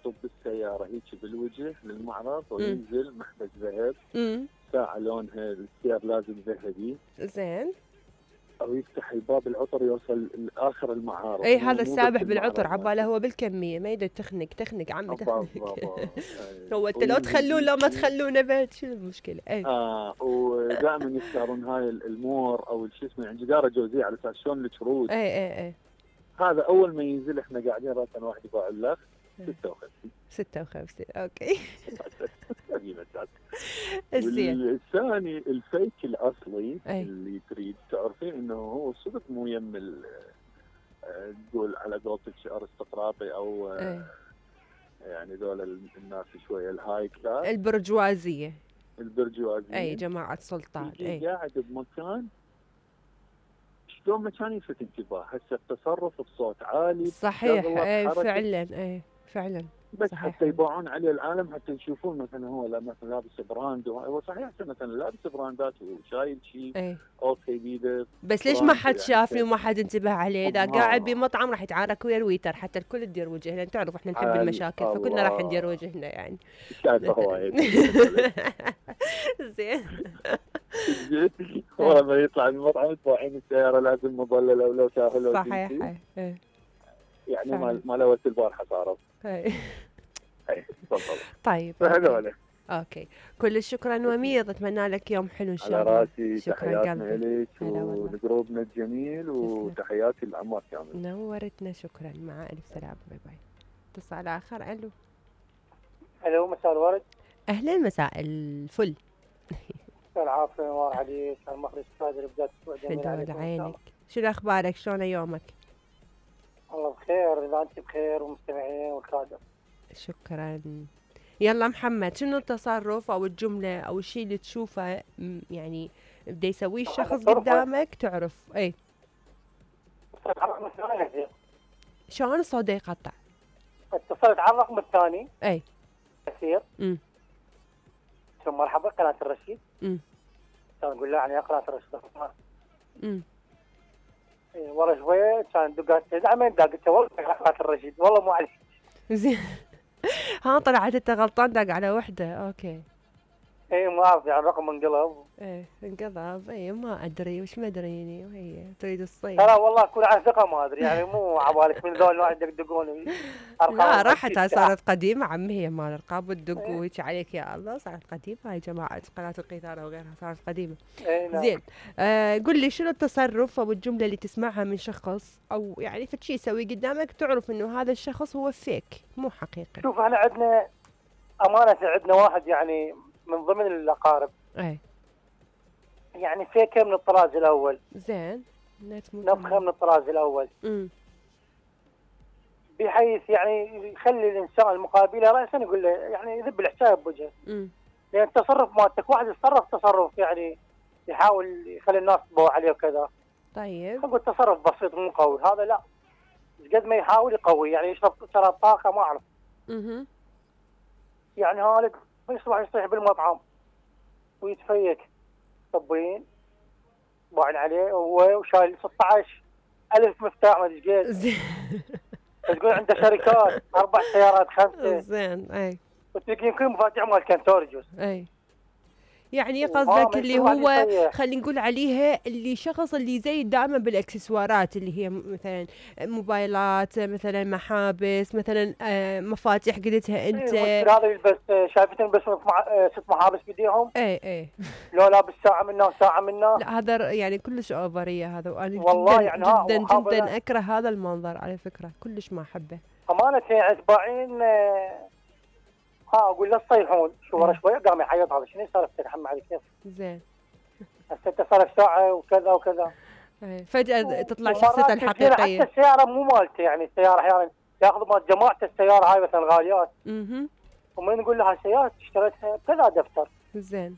يطب بالسياره هيك بالوجه للمعرض وينزل محبس ذهب. ساعه لونها السير لازم ذهبي. زين. او يفتح الباب العطر يوصل لاخر المعارض. اي هذا السابح بالعطر عباله هو بالكميه ما يقدر تخنق عمي تخنق. هو انت لو تخلون لو ما تخلونه بعد شنو المشكله؟ اي ودائما يختارون هاي المور او شو اسمه يعني جداره جوزيه على اساس شلون الكروت. اي هذا اول ما ينزل احنا قاعدين راسا واحد يباع اللخ 56 اوكي. والثاني الفيك الاصلي اللي تريد تعرفين انه هو صدق مو يم تقول على قولتك ارستقراطي او يعني ذول الناس شويه الهاي كلاس البرجوازيه اي جماعه سلطان. قاعد بمكان شلون مكان يلفت انتباه. هسه التصرف بصوت عالي صحيح. فعلا بس صحيح. حتى يباعون عليه العالم حتى يشوفون مثلا هو مثلا لابس براند هو صحيح مثلا لابس براندات وشايل شيء اوكي بيده بس ليش ما حد شافه وما حد انتبه عليه؟ اذا قاعد بمطعم راح يتعارك ويا الويتر حتى الكل تدير وجه لان تعرف احنا نحب المشاكل فكلنا راح ندير وجهنا يعني. شايفه هواي زين. ورا ما يطلع من المطعم تباعين السياره لازم مظلله ولو شاهل صحيح. يعني ما لوت البارحه صارت. طيب هذول اوكي. كل شكرا وميض، اتمنى لك يوم حلو ان شاء الله. على راسي. تحياتنا لك ولجروبنا الجميل وتحياتي للعمار كامل. نورتنا. شكرا. مع الف سلامه. باي باي. اتصال اخر. الو مساء الورد. اهلا مساء الفل. العافيه نوار عليك. المخرج قادر بدايه اسبوع جميل عليك. عينك. شنو اخبارك؟ شلون يومك؟ الله بخير. اذا انت بخير والمستمعين والكادر. شكرا. يلا محمد، شنو التصرف او الجمله او الشيء اللي تشوفه يعني بده يسويه الشخص قدامك تعرف شلون الصوت يقطع؟ اتصلت على الرقم الثاني كثير. ثم مرحبا قناه الرشيد. كان نقول له يعني قناه الرشيد. ورا شويه كان دقات دعمين قلت والله قناه الرشيد والله مو عليك. زين. ها طلعت انت غلطان داق على وحده. اوكي. ما اعرف يعني الرقم انقلب. انقلب. ما ادري وش مدريني وهي تريد الصيد. لا والله كل عن ثقه ما ادري يعني مو عبالك من ذول الواحد يدقون. لا راحت صارت قديمه عمي هي مال الارقام والدق وهيك عليك يا الله صارت قديمه هاي جماعه قناه القيثاره وغيرها صارت قديمه. نعم. زين. قل لي شنو التصرف او الجمله اللي تسمعها من شخص او يعني فشي يسوي قدامك تعرف انه هذا الشخص هو فيك مو حقيقي؟ شوف احنا عندنا امانه عندنا واحد يعني من ضمن الاقارب يعني فيكه من الطراز الاول. زين. نفخه من الطراز الاول. بحيث يعني يخلي الانسان المقابله راسا يقول له يعني يذب الحساب بوجهه. لان التصرف مالتك واحد يتصرف تصرف يعني يحاول يخلي الناس تبوع عليه وكذا. طيب. اقول تصرف بسيط مو قوي. هذا لا قد ما يحاول يقوي يعني يشرب شراب طاقه ما اعرف. يعني هالك يصيح بالمطعم ويتفيك طبين باعن عليه وشايل 16,000 مفتاح ما ادري ايش قد. تقول عنده شركات 4 سيارات 5. زين. وتلاقيهم كل مفاتيح مال كنتورجوس. يعني قصدك اللي هو خلينا نقول عليها اللي شخص اللي زي دائما بالاكسسوارات اللي هي مثلا موبايلات مثلا محابس مثلا مفاتيح قلتها انت. هذا يلبس شايفتين بس 6 محابس بيديهم. لو لابس ساعه منه وساعه منه. لا هذا يعني كلش اوفريه هذا. وانا والله يعني جدا اكره هذا المنظر على فكره كلش ما احبه. امانه يعني تباعين اقول له تصيحون شو ورا شويه قام يعيط. هذا شنو سالفتك حم عليك كيف؟ زين. هسه انت صار لك ساعه وكذا وكذا. فجاه تطلع شخصيته الحقيقيه. حتى السياره مو مالته يعني السياره احيانا ياخذ مال جماعه السياره هاي مثلا غاليات. ومن نقول له هالسياره اشتريتها كذا دفتر. زين.